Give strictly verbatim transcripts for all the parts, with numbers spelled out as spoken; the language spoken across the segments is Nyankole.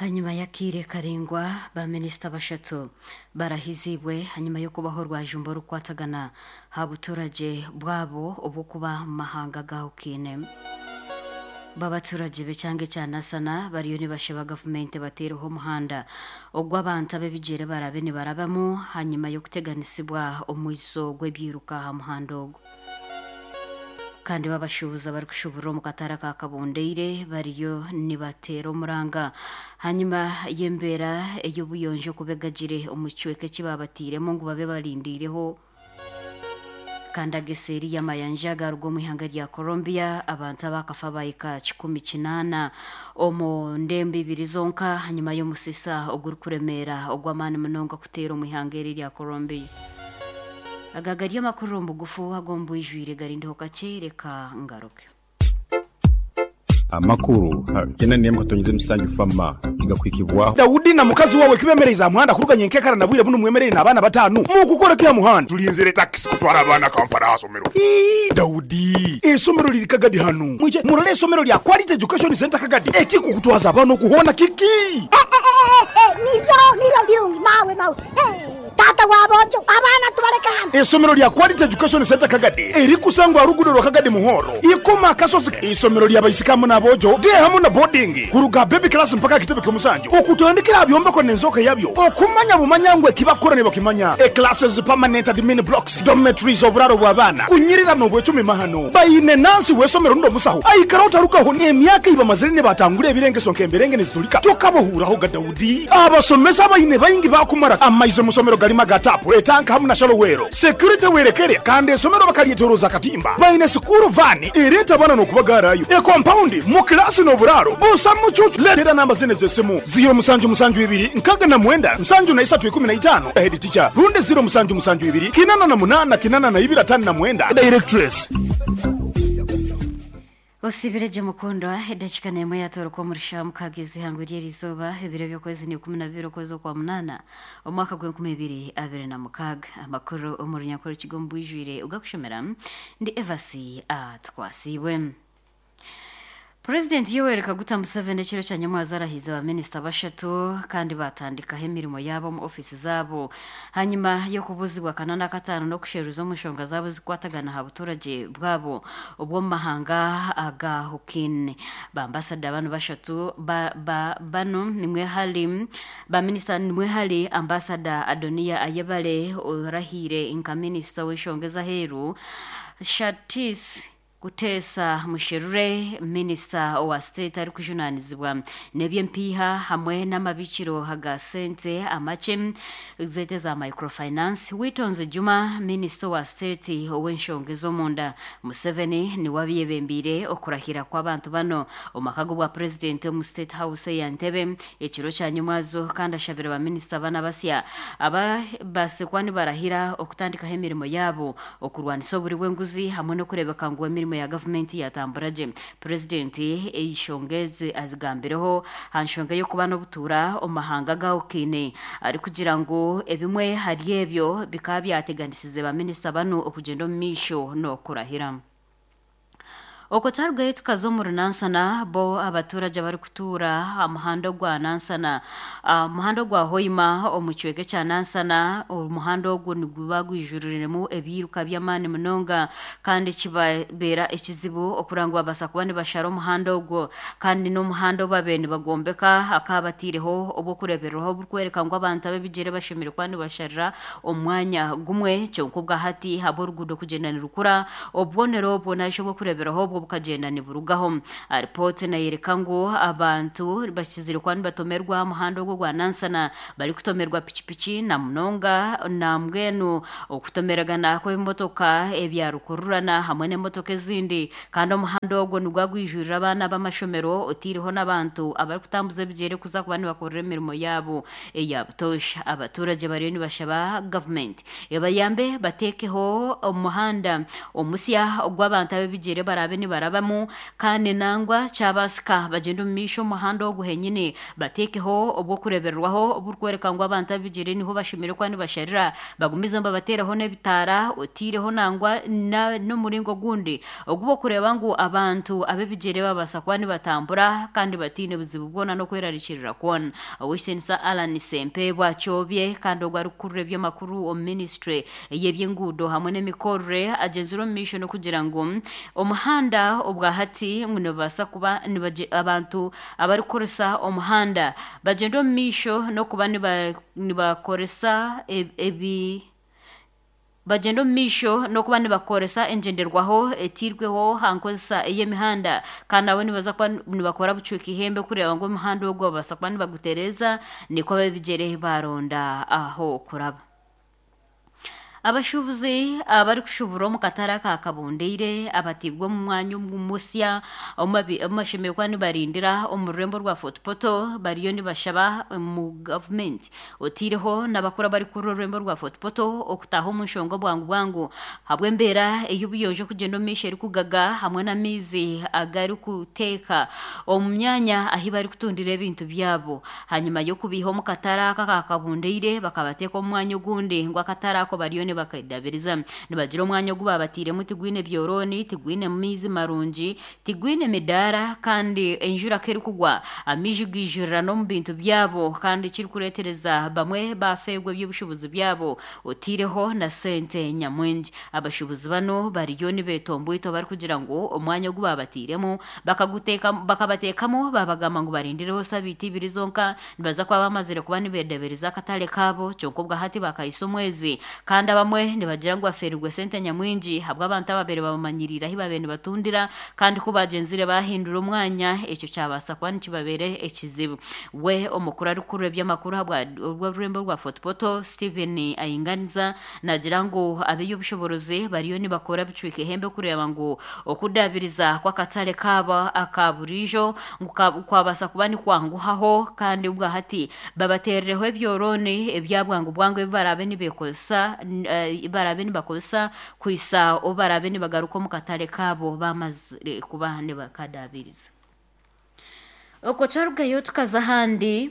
Hanyuma y'akaire karaingwa, baminisita bashatu barahizibwe hanyuma y'okubaho orwajumba orukukwatagana aha buturagye bwabo obw'okuba omu mahanga agahukaine. Babaturagye b'ekyanga ekya Nasana bariyo nibashaba gavumenti bateereho omuhanda ogw'abantu ab'ebigyere barabe nibarabamu hanyuma y'okuteganisibwa omwizo gw'ebyiruka aha muhanda ogwo. Kandi babashuubuzi abarikushuburira omu katare aka Kabondeire bariyo nibateera omuranga hanyuma y'embeera ey'obuyonjo kuba egagire omu kicweka eki baabatairemu ngu babe barindiireho. Kandi ageseeri y'amayanja garuga omu ihanga rya Colombia, abantu abakafa bahika kikumi kinaana omu ndembo ibiri zonka hanyuma y'omusisa ogurikuremeera ogw'amaani munonga kuteera omu ihanga eri erya Colombia. Aga gari amakuru omu bugufu ag'omu bwijwire, garindeho kakye, reka ngaruke. Amakuru kenda n'emwe katonyeze musanju fama igakwikibwaho. Daudi na mukazi wawe kibemereza aha muhanda kuruganya enkekara na bwire buno mwemerere n'abaana bataano mukukora ki aha muhanda? Tulinzire takisi kutwara abaana Kampala aha somero. Ii, Daudi, esomero liri Kagadi hanu, mwije murole esomero lya Quality Education Center Kagadi. Ekikukutwaza abaana okuhoona kiki? Niryo niryo birungi mawe mawe. Eh, tata wabojo abaana tubaleka hano. Esomero lya Quality Education Center Kagadi erikusangwa rugudo rwa Kagadi Muhoro ikoma akasozi. Isomero lya baisikamu n'abojo de hamu na boarding kuruga baby class mpaka kitebe ky'omusanju, okutandikira byombeko n'enzoka yabyo okumanya bumanya ngwe kibakora ne bakimanya. E classes, permanent admin blocks, dormitories, oburaro bw'abaana kunyirira n'obwecumi mahano. Bayine nansi w'esomero ndo musaho aikara utarukaho emyaka ibamazire ne batangura ebirengeso nk'emberenge nizitulika tokabohuraho ga Daudi. Abasomesa bayine bayingi bakumara amaize musomero galima gatapu etanka hamu na shalowero security werekere, kandi esomero bakalyetoroza katimba. Bayine sukuru vani ereta bana n'okubagarayo e compound mu klasi n'oburaro busa mucucu. Letera namba zine z'esimu: ziro musanju musanju ibiri nkaga na mwenda nsanju na isatu ikumi na itano, head teacher, runde ziro musanju musanju ibiri kinana na munana kinana na ibiri atano na mwenda, directress. Osibireje mukundwa, edakika n'emwe yatoroka omurisha mukagezi ihangwe ry'erizooba. Ebiro by'okwezi ni ikumi na bibiri okwezi okwa munana omwaka gw'enkumi ibiri abiri na mukaaga. Amakuru omu runyakore kigo omu bwijwire ugakushomera ndi Evasi Atwasiibwe. Purezidenti Yoweri Kaguta Museveni ekiro kya nyamwaza arahiza abaminisita bashatu kandi batandikaho emirimo yabo omu ofiisi zaabo hanyuma y'okubuzibwa kana na kataano n'okusheruza omu nshonga zaabo zikwatagana aha buturagye bwabo obw'omu mahanga agahukine. Bambasada bano bashatu ba, ba, bano nimwe hari baminisita, nimwe hari ambasada Adonia Ayebare orahiire nka minisita w'enshonga ez'aheeru, Shatis Kuteesa Musherure minisita owa state arikujunanizibwa n'ebyempiiha hamwe n'amabikiro aga sente amakye zete za microfinance, Witonze Juma minisita owa state ow'enshonga ez'omunda. Museveni niwe abyebembiire okurahira kw'abantu bano omu maka g'obwa purezidenti omu State House eya Ntebe ekiro kya nyumwazo, kandi ashabire baminisita bana basya aba basikwa nibarahira okutandikaho emirimo yabo okurwanisa oburi bw'enguzi hamwe n'okureebeka ngu emirimo ya gavumenti yatambura gye. Purezidenti enshonga ezi azigambireho aha nshonga y'okuba n'obutuura omu mahanga agahukine, arikugira ngu ebimwe hari ebyo bikaba byateganisize baminisita banu okugyenda omu maisho n'okurahira. Okwo twarugayo tukaza omu Nansana, bo abaturage abarikutuura aha muhanda ogwa Nansana, aha muhanda ogwa Hoima omu kicweka ekya Nansana, omuhanda ogwo niguba gwijuriremu ebiruka by'amaani munonga kandi kibabeera ekizibu okura ngu babaasa kuba nibashara omuhanda ogwo, kandi n'omuhanda obu babaire nibagombeka hakaba bataireho obw'okureebereraho oburikworeka ngu abantu ab'ebigyere bashemereire kuba nibasharira omu mwanya gumwe. Kyonka obwa hati ahabw'oruguudo kugyenda nirukura, obubonero obwo narishi obw'okureeberaho obwo bukagenda niburugaho. Ripooti nayereka ngu abantu bakizire kuba nibatomerwa aha muhanda ogwo gwa Nansana barikutomerwa pikipiki na munonga na mbwenu okutomeragana kw'ebimotoka ebya rukururana hamwe n'emotoka ezindi, kandi omuhanda ogwo nigwa gwijurira abaana b'amashomero otaireho n'abantu abarikutambuza ebigyere kuza kuba nibakorera emirimo yaabo eya butoosha. Abaturage bariyo nibashaba gavumenti ebayambe bateekeho omuhanda omusya ogw'abantu ab'ebigyere barabe nibarabamu kandi nangwa kyabasika bagenda omu maisho omuhanda ogu henyini bateekeho obw'okureberwaho oburikworeka ngu abantu ab'ebigyere niho bashemere kuba nibasharira bagumize nibabateeraho n'ebitaara otiireho nangwa n'omuringo ogundi ogubokureeba ngu abantu ab'ebigyere babaasa kuba nibatambura kandi batiine buzibu bwona n'okwerarikirira kwona. Ow'ekitinisa Alan Sempe bwakyobye kandi ogwo arikukurura eby'amakuru omu ministry y'ebyenguudo hamwe n'emikorere agyenzire omu maisho n'okugira ngu omuhanda obwahati ngu nibabaasa kuba abantu abarikukoresa omuhanda bagyenda omu maisho n'okuba nibakoresa ebi bagenda omu maisho n'okuba nibakoresa engyenderwaho etiirweho ha nkozesa ey'emihanda kandi nabo nibaza kuba nibakora bucweka ihembe kureeba ngu omuhanda ogwo babaasa kuba nibagutereeza nikwo ab'ebigyere baronda aho kuraba. Abashubuzi abarikushubura omu katare aka Kabundeire abatibwe omu mwanya omusya omu bashemere kuba nibarindira omu rurembo rwa Fort Portal bariyo nibashaba omu gavumenti otiireho n'abakuru abarikukurira orurembo rwa Fort Portal okutaaha omu nshonga bwangu bwangu habw'embeera ey'obuyonjo okugyenda omu maisho erikugaga hamwe n'amaizi agarikuteeka omu myanya ahi barikutundira ebintu byabo. Hanyuma y'okubiiha omu katare aka aka Kabundeire bakabateeka omu mwanya ogundi ngu akatare ako bariyo bakadabiriza nibagira omwanya ogu babatiremu tigwine byoroni tigwine maizi marungi tigwine midaara kandi enjura kerikugwa amaizi gijurira n'omu bintu byabo kandi kirikureetereza bamwe bafeegwa eby'obushubuzi byabo otiireho na sente nyamwingi. Abashubuzi bano bariyo nibeetombwito barikugira ngu omwanya ogu babatiremu bakaguteeka bakabateekamu babagamba ngu barindireho sabiiti ibiri zonka nibaza kuba bamazire kuba nibedabiriza akatare kaabo kyonka obwahati bakahisa omwezi kandi abamwe nibagira ngu baferirwe sente nyamwingi habw'abantu ababere babamanyirira ahi babere nibatundira kandi ku bagyenzire bahindura omwanya ekyo kyabaasa kuba nikibabere ekizibu. We omukuru arikukurura eby'amakuru habw'orurembo rwa Fort Portal Stephen Ainganiza nagira ngu ab'eby'obushoborozi bariyo nibakora bicweka ihembe kureeba ngu okudabiriza kw'akatare kaabo aka buriijo ngu kwabaasa kuba nikwanguhaho kandi obwahati babateerereho ebyoroni ebya bwangu bwangu ebi baraabe nibeekozesa barabe nibakozesa kwisa obu barabe nibagaruka omu katare kaabo bamazire kuba nibakadabiriza. Okwo twarugayo tukaza ahandi.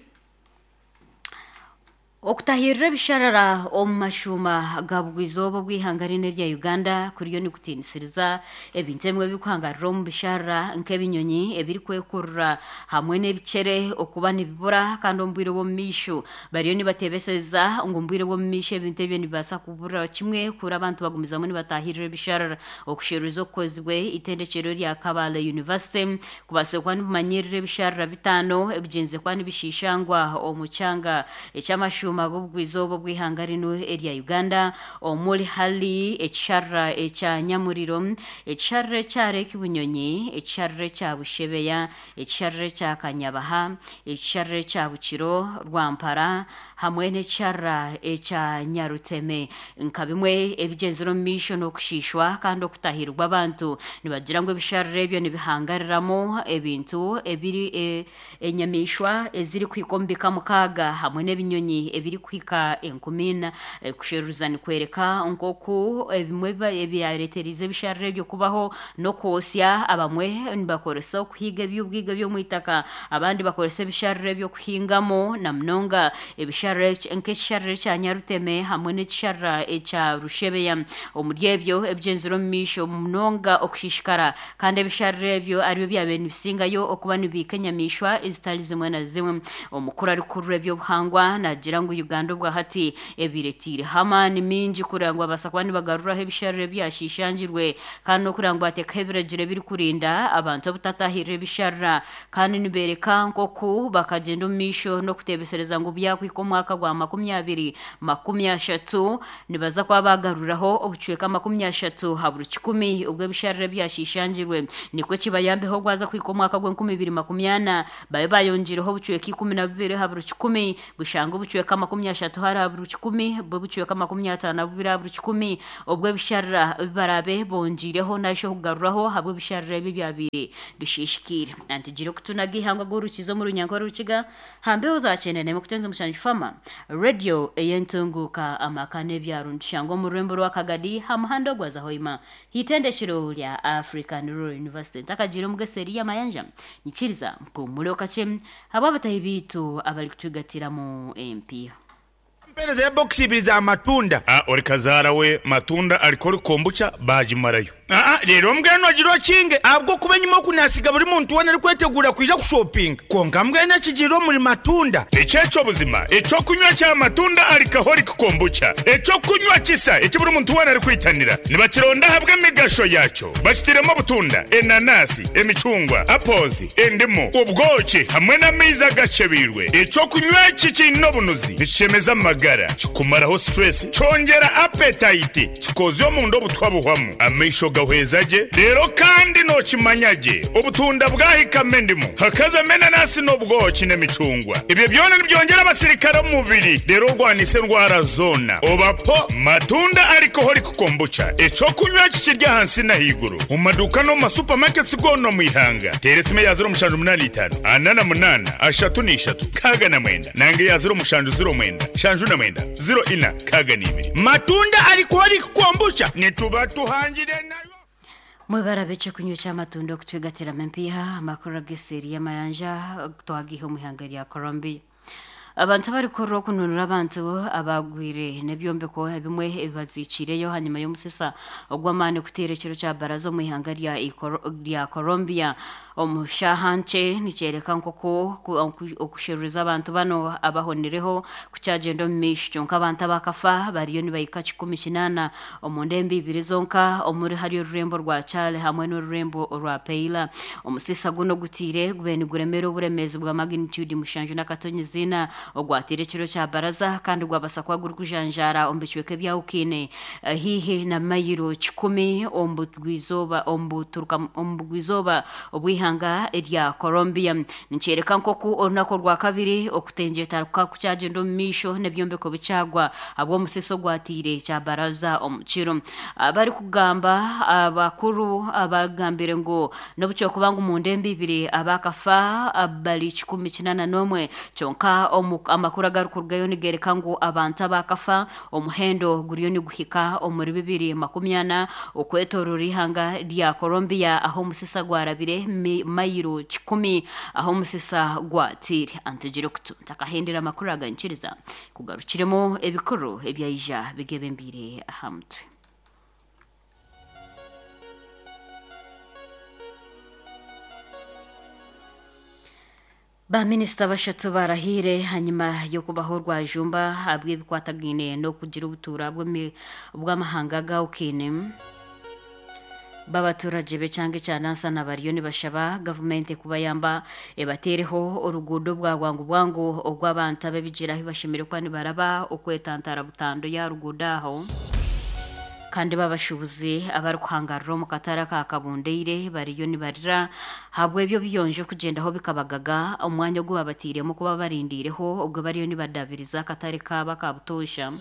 Okutahirira ebisharara omu mashuuma ga bugwizooba obw'ihanga rino erya Uganda kuriyo nikutiinisiriza ebintu ebimwe ebirikuhangarira omu bisharara nk'ebinyonyi ebirikwekurura hamwe n'ebicere okuba nibibura kandi omu bwire bw'omu maisho bariyo nibateebeseza ngu omu bwire bw'omu maisho ebintu ebyo nibibaasa kubura kimwe kuri abantu bagumizamu nibatahirira ebisharara. Okusheruriza okukozibwe itendekyero rya Kabale University kubaasa kuba nibimanyirira ebisharara bitaano ebigyenze kuba nibishishangwa omu kyanga eky'amashuuma g'obugwizooba obw'ihanga rino erya Uganda omuri hari ekisharara ekya Nyamuriro, ekisharara ekya Lake Bunyonyi, ekisharara ekya Bushebeya, ekisharara ekya Kanyabaha, ekisharara ekya Bukiro Rwampara hamwe n'ekisharara ekya Nyaruteme nka bimwe ebigyenzire omu maisho n'okushishwa kandi okutahirwa abantu. Nibagira ngu ebisharara ebyo nibihangariramu ebintu ebiri enyamaishwa ezirikuhika omu bika mukaaga hamwe n'ebinyonyi ebirikuhika enkumi ina. Kusheruza nikwereka nk'oku ebimwe ebyareeterize ebisharara ebyo kubaho n'okwosya abamwe nibakoresa okuhiga eby'obwiga by'omu itaka abandi bakoresa ebisharara eby'okuhingamu na munonga ebisharara nk'ekisharara ekya Nyaruteme hamwe n'ekisharara ekya Rushebeya. Omuri ebyo ebigyenzire omu maisho munonga okushishikara kandi ebisharara ebyo aribyo byabaire nibisingayo okuba nibiika enyamaishwa ezitari zimwe na zimwe. Omukuru arikukurura eby'obuhangwa nagira ngu Uganda obwahati ebiretiireho amaani mingi kureba ngu babaasa kuba nibagaruraho ebisharara ebyashishangirwe kandi n'okureba ngu bateekaho ebiragiro ebirikurinda abantu obutatahirira ebisharara kandi nibeereka nk'oku bakagyenda omu maisho n'okuteebesereza ngu byakuhika omwaka gwa makumi abiri makumi ashatu nibaza kuba bagaruraho obucweka makumi ashatu ha buri kikumi obw'ebisharara ebyashishangirwe nikwo kibayambeho gwaza kuhika omwaka gw'enkumi ibiri makumi ana babe bayongireho obucweka ikumi na bubiri ha buri kikumi bushanga obucweka makumi ashatu hari abiri kikumi bw'obucweka makumi ataano na bubiri abiri kikumi obw'ebisharira barabe bongireho nasho kugaruraho habw'ebisharira ebi byabire bishishikire antigire okutunaga ihangwa g'orukizo mu runyanko rukiga hambeho zakyenda nemwe kutenza omushanju fama radio eyentunguka amaka n'ebyaro ntushanga omu rurembo rwa Kagadi ha muhanda ogwaza Hoima hitendekero lya African Rural University ntakagira omugeseri y'amayanja nyikiriza mpumule okakye habw'abatahi biitu abari kutwigatiramu empiha Mpereza ya box ibiri za matunda. Ah, ori kazara we matunda alikori kombucha bajimarayo. Ah ah, rero mbwenu agirwa kinge abwo kuba nyuma kunasiga buri muntu wona ari kwetegura kuja kushopping. Konka mbwenu akigirwa muri matunda. Echecho buzima, echo kunywa cha matunda alcoholic kombucha. Echo kunywa kisa, eki buri muntu wona ari kwitanira. Nibakironda habwe emigasho yacho. Bakitiremo butunda, enanasi, emicungwa, apples, endimu, ubwoki hamwe n'amaizi agacebirwe. Echo kunywa iki kiine obunuzi, nikishemeza amagara. Kikumaraho stress, cyongera appetite, kikoza omundu obutwa buhwamu. Amaisho gahweza gye, rero kandi nokimanya gye. Obutunda bwahikamo endimu, hakazamo enanasi n'obwoki n'emicungwa. Ibyo byona nibyongera abasirikare omu mubiri, rero orwanisa endwara zona. Obapo matunda alcoholic kombucha, ekyokunywa kikirya ahansi n'ahaiguru. Mu maduuka n'omu masupamaketi goona omu ihanga. Teera esimu eya ziro mushanju munaana itaano, ana na munaana, ashatu n'ishatu, nkaaga na mwenda. Nange eya ziro mushanju ziro mwenda, shanju na mwenda, ziro ina, nkaaga n'ibiri. Matunda alcoholic kombucha nituba tuhangire nayo. Mwebara beche kunywa ky'amatunda okutwigatiramu empiha amakuru ag'eseri y'amayanja twagiha omu ihanga rya Colombia. Abantu abarikurira okununura abantu abagwire n'ebyombeko ebimwe ebibazikiireyo hanyuma y'omusisa ogw'amaani kuteera ekiro kya baraza omu ihanga rya Ikoro- rya Colombia omu shaaha nkye nikyereka nk'oku ku- oku- okusheruriza abantu bano abahonireho kukyagenda omu maisho kyonka abantu abakafa bariyo nibahika kikumi kinaana omu ndembo ibiri zonka omuri hari orurembo rwa Chale hamwe n'orurembo rwa Peila. Omusisa guno gutiire gube niguremera oburemeezi bwa magnitude mushanju n'akatonyizina ogwatire ekiro kya baraza kandi gwabasa kuba gurikujanjaara omu bicweka ebyahukine hihi na mayiro kikumi omu bugwizooba omu buturuka omu bugwizooba obw'ihanga erya Colombia. Nikyereka nk'oku orunaku orwa kabiri okutengyeta kukyagenda omu maisho n'ebyombeko bikyagwa habw'omusisa ogwatiire kya baraza omu kiro. Abarikugamba abakuru abagambire ngu n'obu kyokuba ngu mu ndembo ibiri abakafa bari kikumi kinaana n'omwe kyonka omu amakuru agarikurugayo nigereka ngu abantu abakafa omuhendo guriyo niguhika omuri bibiri makumi ana okwetorora ihanga rya Colombia aho omusisa gwarabire mi- mayiro kikumi aho omusisa gwatiire. Antegire kutu ntakahendera amakuru agankiriza kugarukiremu ebikuru ebyaija bigebembire aha mutwe. Baminisita bashatu barahire hanyuma y'okubaho rwajumba habw'ebikwatagaine n'okugira obutuura bw'emi- bw'amahanga gawukine. B'abaturage b'ekyanga ekya Nansana bariyo nibashaba gavumenti kubayamba ebateereho oruguudo bwa bwangu bwangu ogw'abantu ab'ebigyere ahu bashemereire kuba nibaraba okwetantara butando ya ruguudo aho. Kandi babashubuzi abarikuhangarira omu katare aka Kabundeire bariyo nibarira habw'ebyo biyonjo kugyendaho bikabagaga omwanya ogu babatiiremu kuba barindiireho obwo bariyo nibadabiriza akatare kaabo aka butoosha.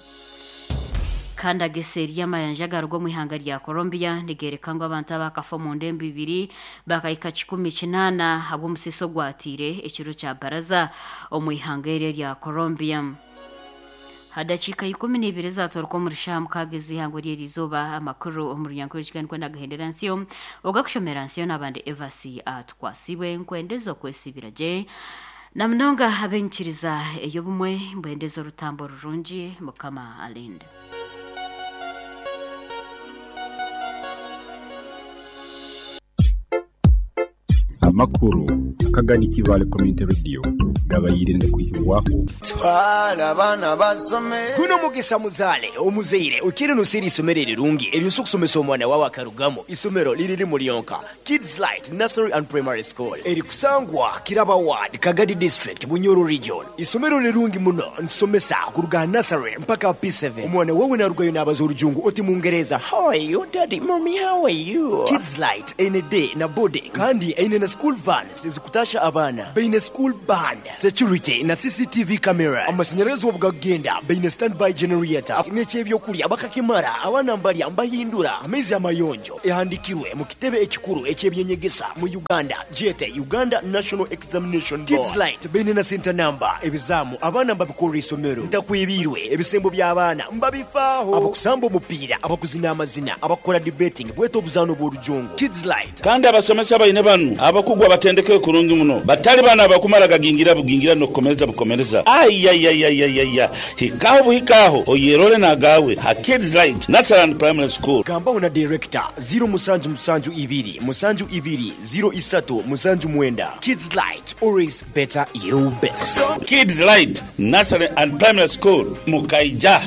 Kandi ageseri y'amayanja agaruga omu ihanga rya Colombia nigereka ngu abantu abakafa omu ndembo ibiri bakahika kikumi kinaana habw'omusisa ogwatiire ekiro kya baraza omu ihanga eryo rya Colombia. Hadakiika ikumi n'ibiri zatoroka omu rishaaha mukaaga ez'ihangwe ry'erizooba amakuru omu runyankore kigani kwenda agahendera nsiyo ogakushomera nsiyo n'abandi Evasi atukwasibwe nkwendeza okwesibira gye na munonga abenkiriza ey'obumwe mbwendeza orutambo rurungi mukama alinde. Amakuru akagani Kibale Community Radio gabayirinde kwihirwaho. Twala abaana basome. Guno mugisa muzaale omuzaire okiri nusiri isomero erirungi eryosa okusomesa omwana wawe akarugamo. Isomero liriri mulyonka Kids Light Nursery and Primary School erikusangwa Kiraba Ward, Kagadi District, Bunyoro Region. Isomero lirungi muno nsomesa kuruga nursery mpaka P seven. Omwana wawe narugayo n'abaza orujungu oti mungereza how are you daddy mommy how are you. Kids Light ene day na boarding kandi eine na school vans ezikutasha abaana baine school band Security na C C T V cameras. Amasanyarazi obugagenda, baine standby generator. N'ekyebyokurya bakakimara, abaana mbalya mbahindura amaizi amayonjo. Ehandikirwe mu kitebe ekikuru ekyebyenyegesa mu Uganda, jete Uganda National Examination Board. Kids Light baine na center number. Ebizamu abaana mbabikorera isomero, ntakwibirwe ebisembo by'abaana mbabifaaho, abakusamba omupiira, abakuzina amazina, abakukora debating, bweta obuzaano bw'orujongo. Kids Light. Kandi abasomesa baine banu abakugu abatendekere kurungi muno, batali bana abakumara gagingira bugingira nokukomereza bukomereza. Ayayayayaya, hikaho buhikaho oyerole nagawe ha Kids Light Nursery and Primary School. Gambaho na director zero musanju musanju ibiri musanju ibiri zero isatu musanju mwenda. Kids Light, always better you best. Kids Light Nursery and Primary School, mukaija.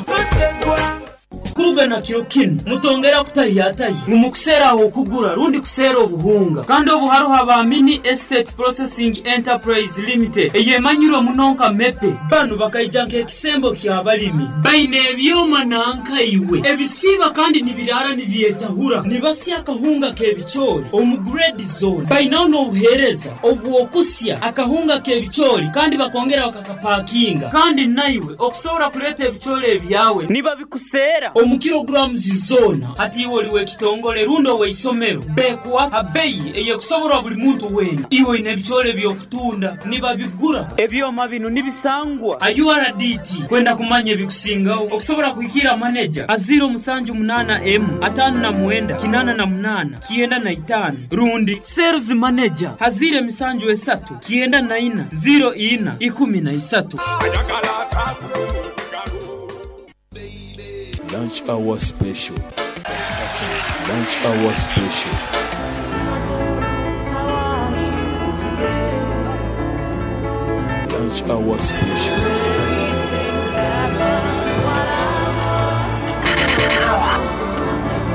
Kurugana kiro kinu mutongera kutahiyatahi mumukuseeraho okugura rundi kuseera obuhunga, kandi obu hariho aba Mini Estate Processing Enterprise Limited, eyemanyirwe muno nka MEPE. Banu bakaija nk'ekisembo ky'abalimi. Baine ebyoma nankaiwe ebisiiba kandi nibirara nibyetahura, nibasya akahunga k'ebicoori omu grade zone. Bainaho n'obuheereza obw'okusya akahunga k'ebicoori kandi bakongera bakakapakinga, kandi naiwe okusobora kuleeta ebicoori ebyawe nibabikuseera omu kilograms zona. Hati iwe oliwe ekitongole rundi oweisomero, bekuwa abeyi eyekusoborwa buli muntu wena. Iwe oine ebicoori ebyokutunda, nibabigura. Ebyoma bino nibisangwa a U R D T. Kwenda kumanya ebikusingaho, okusobora kuhikira maneja a zero musanju munana m atano na mwenda kinana na munana kienda na itano, rundi sales manager a zero emisanju esatu kienda na ina zero ina ikumi na isatu. Lunch hour special. Lunch hour special. Lunch hour special.